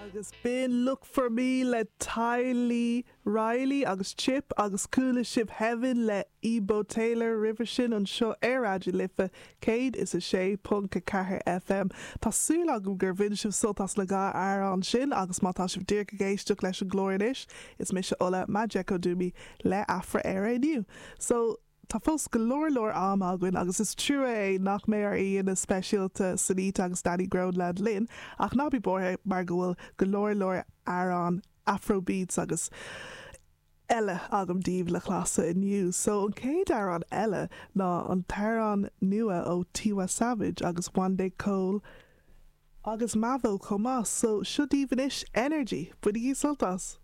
Agus b'in Look For Me le Tylee Riley agus Chip agus chuala sibh Heaven le Ebo Taylor roimhe sin anseo ar Raidió na Life 106.4 FM. Tá súil agam gur bhain sibh sult as na dá amhrán sin agus má tá sibh díreach ag éisteacht leis an gclár anois, is mise Ola Majekodunmi le Afra-Éire inniu. So. Tá fós go leor leor am againn agus is trua é nach mbeidh ár aíonna speisialta Sonita agus Danny Groenland linn ach ná bí buartha mar go bhfuil go leor leor amhrán Afrobeats agus eile agam daoibh le casadh inniu. So an chéad amhrán eile ná an t-amhrán nua ó Tiwa Savage agus Wande Coal agus Mavo chomh maith. So seo daoibh anois Energy. Bainigí sult as!